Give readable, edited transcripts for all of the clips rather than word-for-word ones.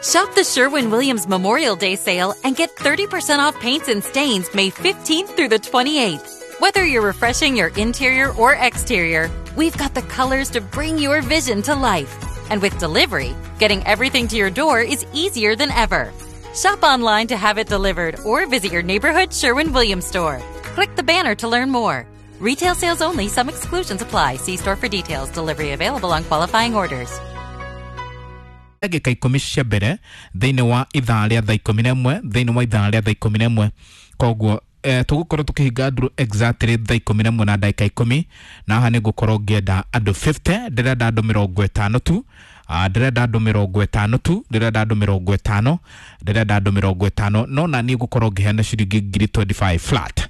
Shop the Sherwin Williams Memorial Day sale and get 30% off paints and stains May 15th through the 28th. Whether you're refreshing your interior or exterior, we've got the colors to bring your vision to life. And with delivery, getting everything to your door is easier than ever. Shop online to have it delivered or visit your neighborhood Sherwin Williams store. Click the banner to learn more. Retail sales only, some exclusions apply. See store for details. Delivery available on qualifying orders. Ndagĩka 10 cia mbere thĩinĩ wa ithaa rĩa thaa 11, thĩinĩ wa ithaa rĩa thaa 11. Koguo tũgũkorwo tũkĩhinga nduru exactly thaa 11 na ndagĩka 10, na haha nĩ ngũkorwo ngĩenda andũ 50. Ndĩrenda andũ 50 tu. Ndĩrenda andũ 50 tu, ndĩrenda andũ 50, ndĩrenda andũ 50. No na niĩ ngũkorwo ngĩheana ciringi ngiri 25 flat,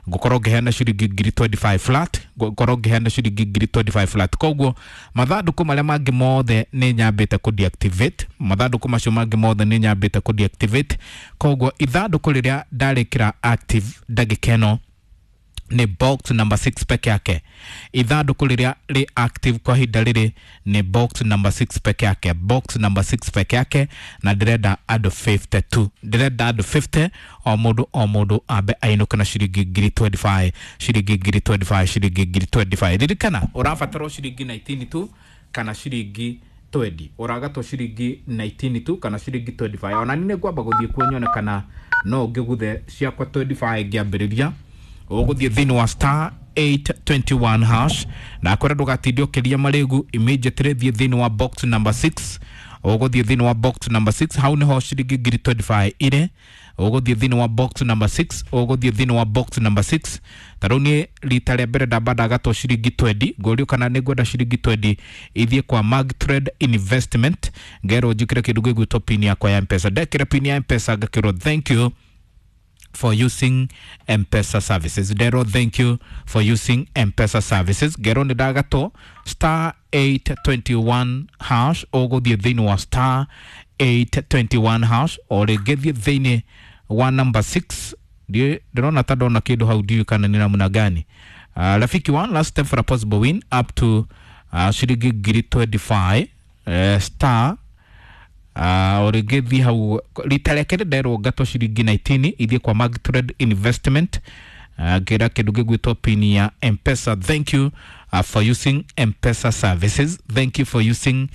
ngũkorwo ngĩheana ciringi ngiri 25 flat, ngũkorwo ngĩheana ciringi ngiri 25 flat. Koguo mathandũkũ marĩa mangĩ mothe nĩ nyambĩte kũ deactivate, mathandũkũ macio mangĩ mothe nĩ nyambĩte kũ deactivate. Koguo ithandũkũ rĩrĩa ndarĩkĩra active ndagĩka ĩno nĩ box number 6 peke yake. Ithandũkũ rĩrĩa rĩ active kwa ihinda rĩrĩ nĩ box number 6 peke yake, box number 6 peke yake. Na ndĩrenda andũ 52, ndĩrenda andũ 50, o mũndũ o mũndũ ambe ainũke na ciringi ngiri 25, ciringi ngiri 25, ciringi ngiri 25. Ririkana ũrabatarwo ciringi 19 tu kana ciringi 20, ũragatwo ciringi 19 tu kana ciringi 25. Ona niĩ nĩngwamba gũthiĩ kuo nyone kana no ngĩguthe ciakwa 25 ngĩambĩrĩria. Ũgũthiĩ thĩinĩ wa star 821 hash, na kwĩra ndũgatinde ũkĩria marĩgu. Immediately thiĩ thĩinĩ wa box number 6, ũgũthiĩ thĩinĩ wa box number 6, hau nĩho ciringi ngiri 25 irĩ. Ũgũthiĩ thĩinĩ wa box number 6, ũgũthiĩ thĩinĩ wa box number 6. Ta rĩu niĩ rita rĩa mbere ndamba ndagatwo ciringi 20, ngũrio kana nĩ ngwenda ciringi 20 ithiĩ kwa Mag Trade Investment, ngerwo njĩkĩre kĩndũ gĩgwĩtwo pin yakwa ya Mpesa. Ndekĩra pin ya Mpesa ngakĩrwo thank you for using M-Pesa services. Dero, thank you for using M-Pesa services. Gero nĩ ndagatwo star 821 hash, ũgũthiĩ thĩinĩ wa star 821 hash, o rĩngĩ thiĩ thĩinĩ wa number 6. Ndĩrona ta ndona kĩndũ hau, ndiũĩ kana nĩ namna gani. Rafiki, one last step for a possible win up to ciringi ngiri 25, star o rĩngĩ thiĩ hau. Rita rĩa kerĩ nderwo ngatwo ciringi 19 ithiĩ kwa Mag Trade Investment, ngĩra kĩndũ gĩgwĩtwo pin ya Mpesa. Thank you for using Mpesa services, thank you for using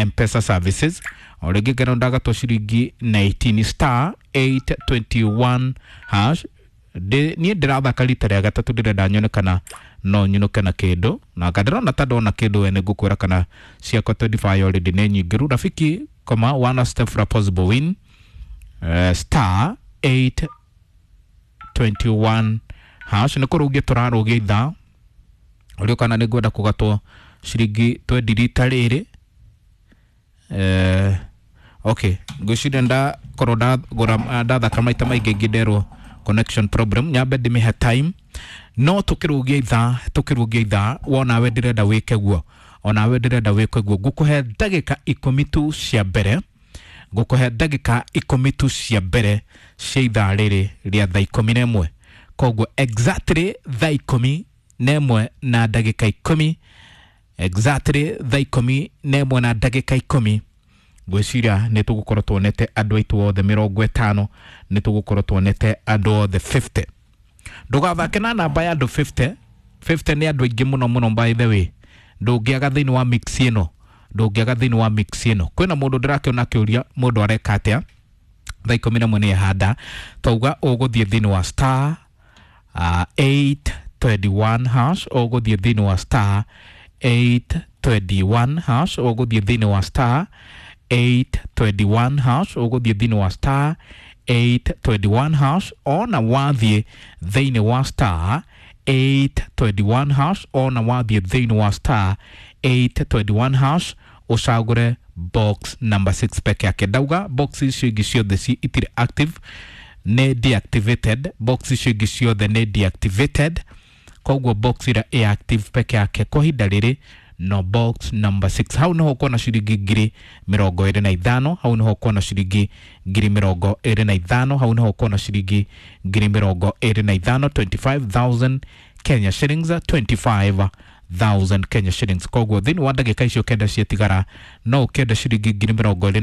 Mpesa services. O rĩngĩ ngerwo ndagatwo ciringi 19, star 821 hash. Niĩ ndĩrathaka rita rĩa gatatũ, ndĩrenda nyone kana no nyinũke na kĩndũ, na ndĩrona ta ndona kĩndũ. We nĩngũkwĩra kana ciakwa 25 already nĩ nyingĩru. Rafiki koma, one step for a possible win, star 821 hash. Nĩ kũrũgia tũrarũgia ithaa ũrĩa kana nĩ ngwenda kũgatwo ciringi 20 rita rĩrĩ. Okay, ngwĩciria ndakorwo ndagũra ndathaka maita maingĩ ngĩnderwo connection problem, nyambe ndĩmĩhe time. No tũkĩrũgia ithaa, tũkĩrũgia ithaa, wonawe ndĩrenda wĩke guo, onawe ndĩrenda wĩke guo. Ngũkũhe ndagĩka 10 tu cia mbere, ngũkũhe ndagĩka 10 tu cia mbere cia ithaa rĩrĩ rĩa thaa 11. Koguo exactly thaa 11 na ndagĩka 10, exactly thaa 11 na ndagĩka 10, ngwĩciria nĩ tũgũkorwo tuonete andũ aitũ othe 50, nĩ tũgũkorwo tuonete andũ othe 50. Ndũgathake na namba ya andũ 50. 50 nĩ andũ aingĩ mũno mũno. By the way, ndũngĩaga thĩinĩ wa mix ĩno, ndũngĩaga thĩinĩ wa mix ĩno. Kwĩna mũndũ ndĩrakĩona akĩũria mũndũ areka atĩa thaa 11 nĩ ehanda. Twauga ũgũthiĩ thĩinĩ wa star 821 hash, ũgũthiĩ thĩinĩ wa star 821 hash, ũgũthiĩ thĩinĩ wa star 821 hash, ũgũthiĩ thĩinĩ wa star 821 hash. Ona wathiĩ thĩinĩ wa star 821 hash, ona wathiĩ thĩinĩ wa star 821 hash, ũcagũre box number 6 peke yake. Ndauga box icio ingĩ ciothe itirĩ active, nĩ deactivated. Box icio ingĩ ciothe nĩ deactivated, koguo box ĩrĩa ĩ active peke yake kwa ihinda rĩrĩ no box number 6. Hau niho ũkuona ciringi ngiri 25, hau niho ũkuona ciringi ngiri 25, hau niho ũkuona ciringi ngiri 25, 25,000 Kenya shillings, 25,000 Kenya shillings. Koguo thĩinĩ wa ndagĩka icio kenda ciatigara no ũkĩenda ciringi ngiri 25.